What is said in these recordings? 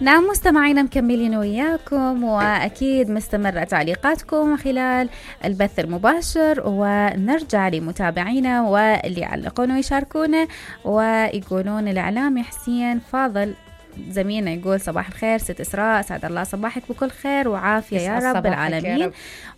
نعم مستمعينا مكملين وياكم، وأكيد مستمرة تعليقاتكم خلال البث المباشر، ونرجع لمتابعينا واللي يعلقون ويشاركونا ويقولون الإعلامي حسين فاضل زميلنا يقول صباح الخير ست إسراء، سعد الله صباحك بكل خير وعافية يا رب العالمين.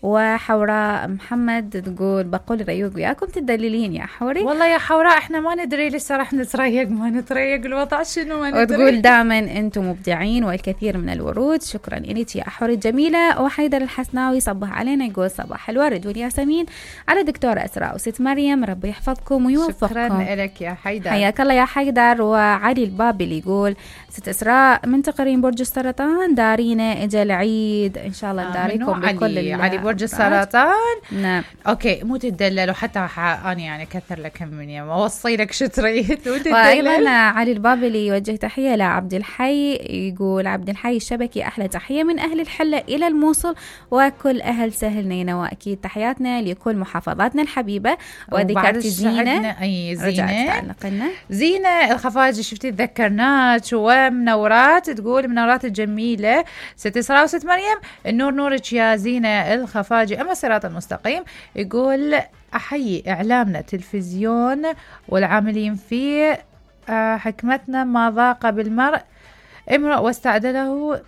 وحوراء محمد تقول بقول ريوق وياكم تدللين يا حوري. والله يا حوراء احنا ما ندري لسه راح نتريق ما نتريق الوضع شنو ما ندري. وتقول دائما انتم مبدعين والكثير من الورود، شكرا لك يا حوري الجميلة. وحيدر الحسناوي صبح علينا يقول صباح الورد والياسمين على دكتورة إسراء وست مريم، ربي يحفظكم ويوفقكم. شكرا لك يا حيدر، حياك الله يا حيدر. وعلي البابلي يقول ست إسراء من تقرين برج السرطان دارينا اجا العيد ان شاء الله نداريكم بكل علي برج السرطان. نعم اوكي مو تدللوا حتى انا يعني كثر لك من يوم اوصي لك شو تريد. وايضا علي البابلي يوجه تحيه لعبد الحي، يقول عبد الحي الشبكي احلى تحيه من اهل الحله الى الموصل وكل اهل سهل نينا، واكيد تحياتنا لكل محافظاتنا الحبيبه. وذكرتي زينه زينه الخفاجي شفتي تذكرناك ومنورات، تقول منورات الجميله ست إسراء وست مريم النور نورك يا زينه الخفاجي. اما الصراط المستقيم يقول احيي اعلامنا التلفزيون والعاملين فيه، حكمتنا ما ضاق بالمرء امرؤ واستعدله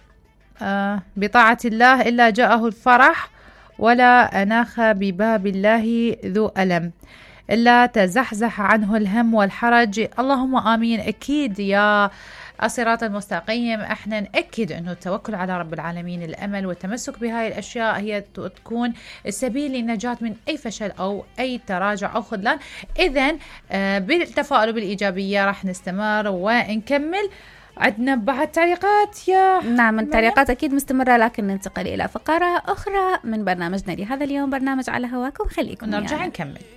بطاعه الله الا جاءه الفرح، ولا اناخ بباب الله ذو الم الا تزحزح عنه الهم والحرج. اللهم امين. اكيد يا الصراط المستقيم احنا نأكد انه التوكل على رب العالمين، الامل والتمسك بهاي الاشياء هي تكون السبيل للنجاة من اي فشل او اي تراجع او خذلان. اذن بالتفاؤل وبالايجابيه راح نستمر ونكمل. عندنا بعد تعليقات يا نعم التعليقات اكيد مستمره، لكن ننتقل الى فقره اخرى من برنامجنا لهذا اليوم، برنامج على هواكم. خليكم نرجع نكمل.